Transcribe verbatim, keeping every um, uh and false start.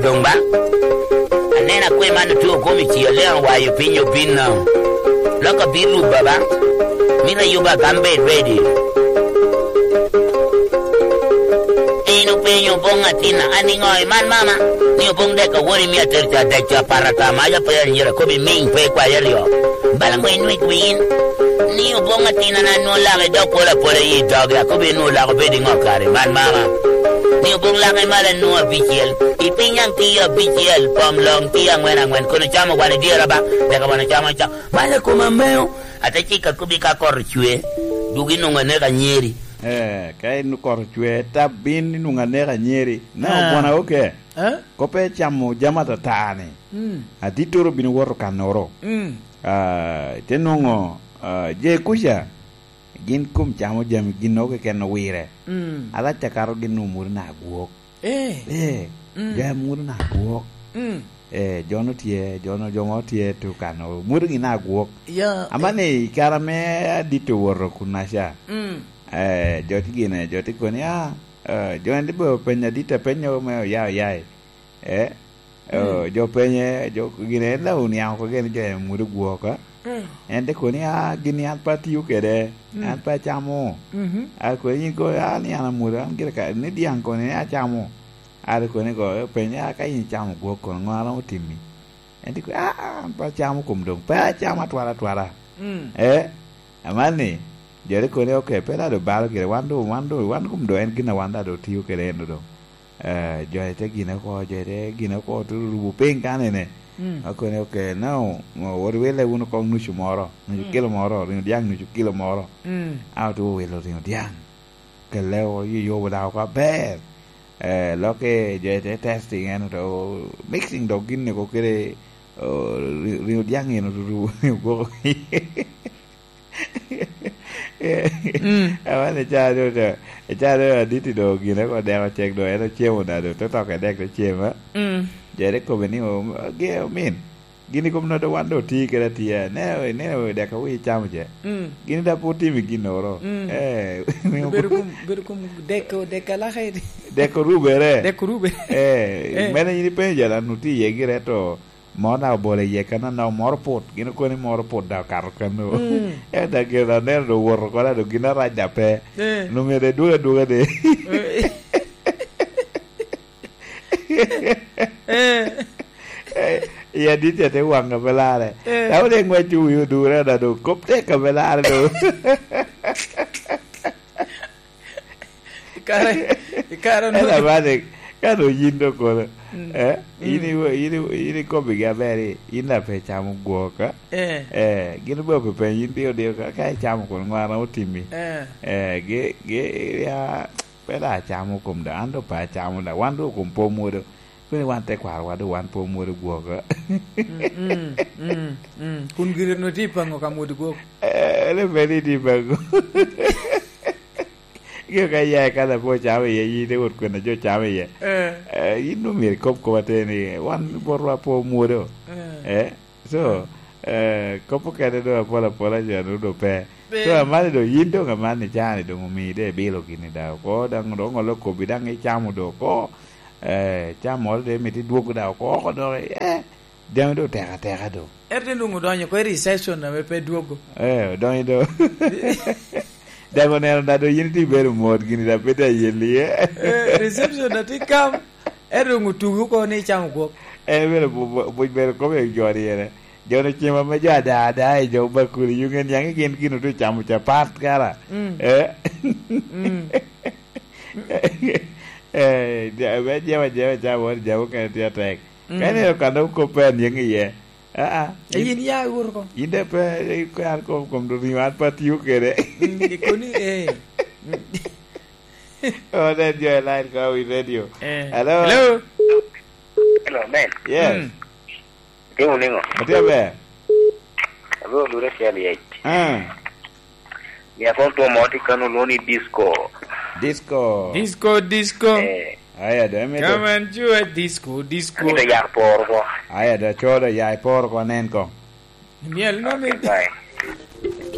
Doŋ ba, aneno akwe man otio kom i ci, aleŋo wayo piny obino. Lok abino rubba ba, mito ayuba agam bed ready. En openyo boŋ atina, "An iŋo iman mama?" Ni oboŋ dek awot i mia atir ca dek ca apar ata mac ape anyira kobi miŋ pe ikwayo aryo. Bala ŋo inwik win? Ni oboŋ atina na nwoŋo lak idok pol apola i dogi, akobi nwoŋo lak obed iŋo kare, man mama. Ni oboŋ lak imalo nwoŋo abicel, i piny aŋ tye abicel, pom loŋ tye aŋwen aŋwen, kono camo wan i dyere ba, teka wan ocamo ca. Bala koma meo, ate cika kobi ka kot ocwe, duk inwoŋo aneka anyeri. Eh, ka in kot ocwe, tab bin inwoŋo aneka anyeri. Na Ah. ogwona oke. Eh? Kope camo jami atata ni. Mm. Adittoro bino woto kanoro. Mm. Ah, te nwoŋo, ah, je kuca, gin kom camo jami, gin nogo keken owire. Mm. Alac akato gin nwoŋo mwodo na agwok. Eh. Eh, Mm. jami mwodo na agwok. Mm. Eh, jo no tye, jo no, jo mo tye tu kano, mwodo gin na agwok. Ya, Ama eh. ni i kare ame adit owoto kunaca, Mm. eh, jo ti gine, jo ti koni, ah, eh, jo en ti be openya dit apenyo me oya oya i. Eh, Mm. oh, jo penye, jo gine en la oniaŋ oko gene jo en mwodo gwok, ah. Mm. En te koni, ah, gini an pe atio kede, Mm. an pe acamo. Mhm. A koni yin ko, ah, ni an amwodo, an gire ka, ni diaŋ koni ni acamo. A te koni ko, penye, ah, ka yin icamo gwok kono, ŋo a romo timi? En te koni, ah, ah, an pe acamo kom doŋ, pe acamo atwara atwara. Mm. Eh, aman ni, jo te koni, ok, pe dado balo gire, wan do, wan do, wan kom do en gin a wan dado tio kede en do doŋ. Eh, jo ete gine oko, jo ete gine oko, te rubo piny kanene. Mm. Akone, "Ok, now, wot iwille wunu kong nucu moro, nucu Mm. kilo moro, ringo dyaŋ nucu kilo moro." Mm. A otye owilo ringo dyaŋ. Kelle o, yubo dok oko aber. Eh, lokke jo ete testing en oto, mixing dok gin oko kede, o, ri-, ringo dyaŋ en oto rubo ringo gwoko. Mm. Aman ica doŋ, ica doŋ aditi doŋ gine ko dek ocek doŋ, en ocemo da doŋ, te toko i dek te cem, a? Mm. Jere kome ni, o, ge, omin, gini kom noto wan doŋ oti kede atia, ne, ne, dek awi icamo ce. Mm. Gini da pe otimi ginnoro. Mm. Eh, bedo kum, bedo kum dek, dek alaka i dek orubere. Dek orubere. Eh, Eh. Mene yin ipenyo jal anu ti iye gire to, mo na obolo iye kan anok moro put, gin okoni moro put da okato kan o. Mm. Ento gin aneno do owoto kono do gin arac da pe. Eh. Nwoŋo myero idwogo adwoga de. Eh. Eh, i adit ya te waŋ a pe lare. Eh. Dako de ŋwec wi odure da do kop tek a pe lare do. I kare, i kare Ela onwoŋo bade, ka do yin do kono, Mm. eh, yin Mm. iwe-, yin iwe-, yin ikobbigi aber, i, yin daŋ pe icamo gwok, a? Eh. Eh, gin obeo pe penyo, yin dio dio ka, ka icamo kono ŋo a romo timi? Eh. Eh, gi, gi, ya, pe da acamo kom da, an do pe acamo da, wan do kom po mwodo, koni wan te kwarowa do wan po mwodo gwok, a? Mm, mm, mm, mm. Kun gire no tye i paŋo ka mwodo gwok? Eh, le pe ni tye i paŋo. Gin ka iya i kala pe ocamo iye, yin ite wot kwena jo camo iye. Eh. Eh, yin omyero ikob kop atir ni, wan botwa pe omwodo. Eh. Eh, so, eh, kop okene doŋ apol apola jo anu doŋ pe. Pe. So, amani doŋ yin doŋ amani cani doŋ omii de ibilo gini da oko, daŋ doŋ olo kobbi daŋ icamo doŋ oko. Eh, cam moro de mito idwogo da oko oko doŋ, eh, Jami doŋ tek ateka doŋ. Ento te nwoŋo odonyo oko i reception ame pe dwogo. Eh, odonyo doŋ. Dok oneno na doŋ yin itye ibedo mot gini, dok pe tye ayelli, eh. Eh, reception na tye kam, ento doŋ otugi oko ni icamo gwok. En bene bu-, bu-, buc bene kobbe jo ni ene. Jo ni cem ame jo ada ada i jo bakuli, yung en niaŋ i gin gin otye ocamo capat kara. Mm. Eh? Mm. Eh, ja-, me jema, jema ca wot jam okene tye atek. Mm. Ka ineno kan dok kop pe anyeŋ iye. Aa, Eh, yin ya iwot oko. Yin de pe, eh, an kom, kom do ringo an pe atiyo kede. Mm, ikoni, eh. Oh, that joy line ko wi radio. Eh. Hello? Hello? Hello, man. Yes. Mm. Itimo niŋo? Atye aber. Abiro lure acel yec. Ah. Mia kono two mo tye kano olwoŋo ni disco. Disco. Disco, disco. Eh. Aya do, emito. Come and do a disco, disco. Amito yat poro ko. Aya do, codo ya iporo ko, anen ko. Miel no mi. Okay, bye.